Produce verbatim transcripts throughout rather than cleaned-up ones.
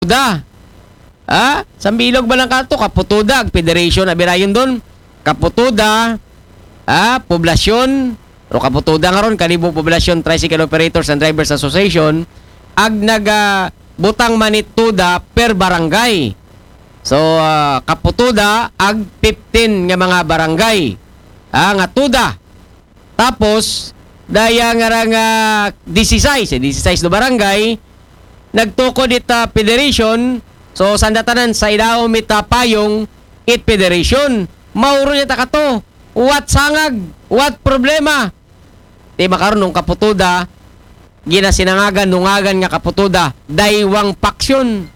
Kaputuda. Ha? Sambilog ba lang kato? Kaputuda, ag federation, abirayon doon. Kaputuda, ha? Poblasyon, o Kaputuda nga ron, Kalibo Poblasyon Tricycle Operators and Drivers Association, ag naga butang man it tuda per barangay. So, ah, Kaputuda, ag fifteen nga mga barangay. Ha, nga tuda. Tapos, daya nga ra nga disisais, eh, disisais no barangay, nagtukod it, ah, federation. So, sanda tanan sa idawom it, ah, payong it federation. Mao ron niya ta kato. What sangag? What problema? Ti makaron nung Kaputuda, ginasinangagan, nungagan nga Kaputuda, daywang paksyon.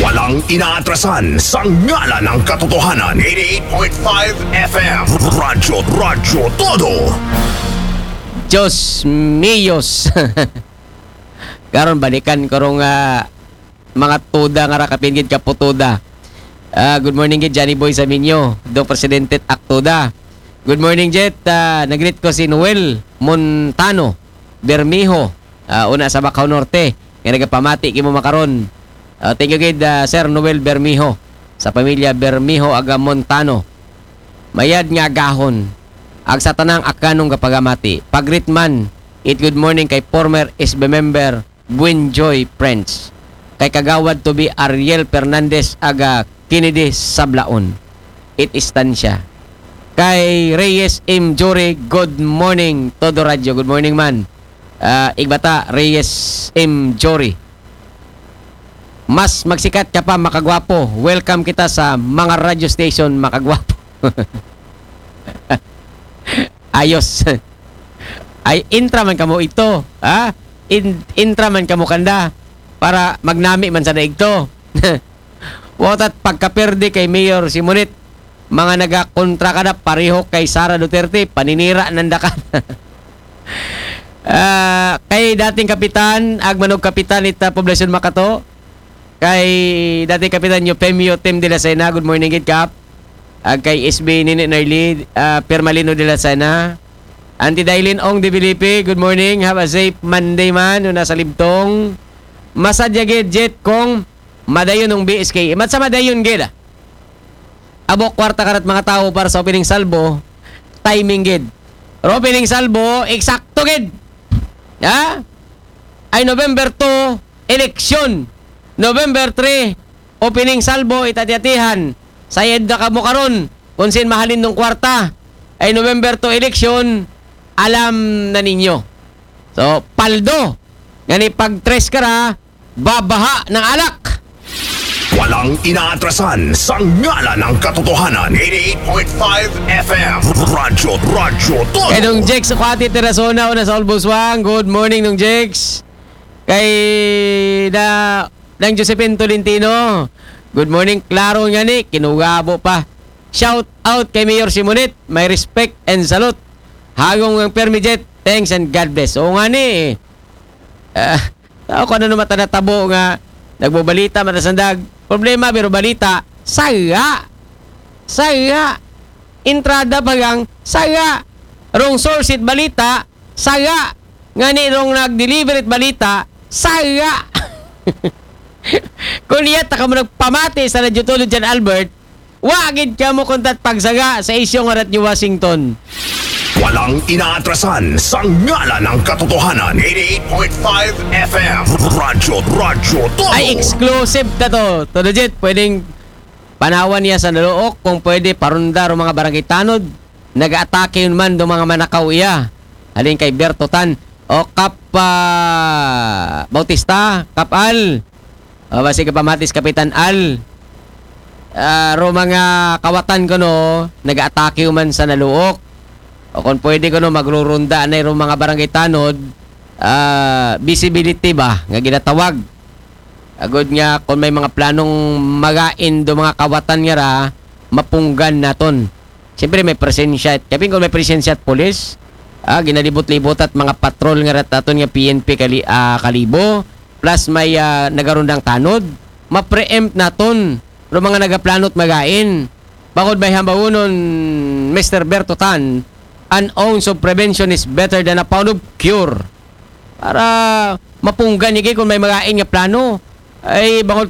Walang inaatrasan sa ngalan ng katotohanan. eighty-eight point five F M. Radyo, Radyo Todo. Diyos míos. Karon balikan ko rong, ah, mga tuda nga ra kapin gid Kaputuda. Ah, good morning gid Johnny Boy Saminyo, do Presidente Aktuda. Good morning Jet, ah, nagreet ko si Noel Montano Bermejo, ah, una sa Bacau Norte, nga nagapamati kimo makaron. Ah, thank you gid, ah, Sir Noel Bermejo, sa pamilya Bermejo aga Montano. Mayad nga agahon, ag sa tanang akanong kapagamati. Pagreet man, it good morning kay former S B member Buenjoy Prince. Kay Kagawad to be Ariel Fernandez aga Kennedy Sablaon. It Estancia. Kay Reyes M. Jory, good morning, Todo Radio. Good morning man. Ah, Igbata, Reyes M. Jory. Mas magsikat ka pa, makagwapo. Welcome kita sa mga radio station, makagwapo. Ayos. Ay, intra man kamo ito, ha? In, intra man kamo kanda para magnami man sa daigto. Watat pagkaperde kay Mayor Simonit, mga nagakontra ka na pareho kay Sara Duterte, paninira nanda ka. Ah, kay dating kapitan, agmanog kapitan ita poblasyon Makato, kay dating kapitan Eufemio Tim de la Sena, good morning gid kap. Ag kay S B Nini Narli, ah, Permalino de la Sena. Auntie Dailin Ong de Felipe, good morning. Have a safe Monday man, una sa Libtong. Masadya gid Jet kong madayon ng B S K. Mat sa madayon gid, ah. Abo kwarta karat mga tao para sa opening salvo, timing gid. Pero opening salvo, eksakto gid. Ha? Ay November two, eleksyon. November three, opening salvo, itatiatihan. Sayad na kamo karon, kung sin mahalin ng kwarta. Ay November two eleksyon, alam na ninyo. So, paldo. Ngani pag tres ka ra, babaha ng alak. Walang inaatrasan sa ngalan ng katotohanan. eighty-eight point five F M. Radyo, Radyo Todo. Kay Dong Jex Kwati Terasona, una sa Olboswang. Good morning, Dong Jex. Kay na, Nang Josephine Tolentino. Good morning, klaro nga ni, kinugabo pa. Shout out kay Mayor Simonit, my respect and salute. Hagong ang Permijet, thanks and God bless. Oo nga ni, eh. Ah, tao ko ano naman tanatabo nga nagbobalita, matasandag. Problema, pero balita, saya. Saya. Entrada pa gang saya. Rong source it balita, saya. Ngani rong nag-deliver it balita, saya. Kung iya ta kamo nagpamati sa Radyo Todo Jan Albert, wa gid kamo kuntat pagsaga sa isyu nga Radyo Washington. Walang inaatrasan sa ngalan ng katotohanan. eighty-eight point five F M. Radyo, Radyo Todo. Ay, exclusive ka to. Todo Jet, pwedeng panawan niya sa naluok kung pwede parundar ang mga barangay tanod. Nag-atake yun man do mga manakaw iya. Halin kay Berto Tan. O Kap, ah, Bautista, Kap Al. O, basi ka pamatis Kapitan Al. Ah, ro mga kawatan ko, no, nag-atake man sa naluok. O kung pwede ko, no, magrurunda na ro mga barangay tanod, ah, visibility ba, nga ginatawag. Agod nga, kung may mga planong magain do mga kawatan nga ra, mapunggan naton. Siyempre, may presensya. Kapin kung may presensya at polis, ah, ginalibot-libot at mga patrol nga rat aton nga P N P kali, ah, Kalibo, plus may, ah, nagarundang tanod, ma-preempt naton ro mga nagaplano't magain. Bangod may hambawonon, Mister Berto Tan, "An ounce of prevention is better than a pound of cure." Para mapunggan niya kung may magain nga plano. Ay, bangud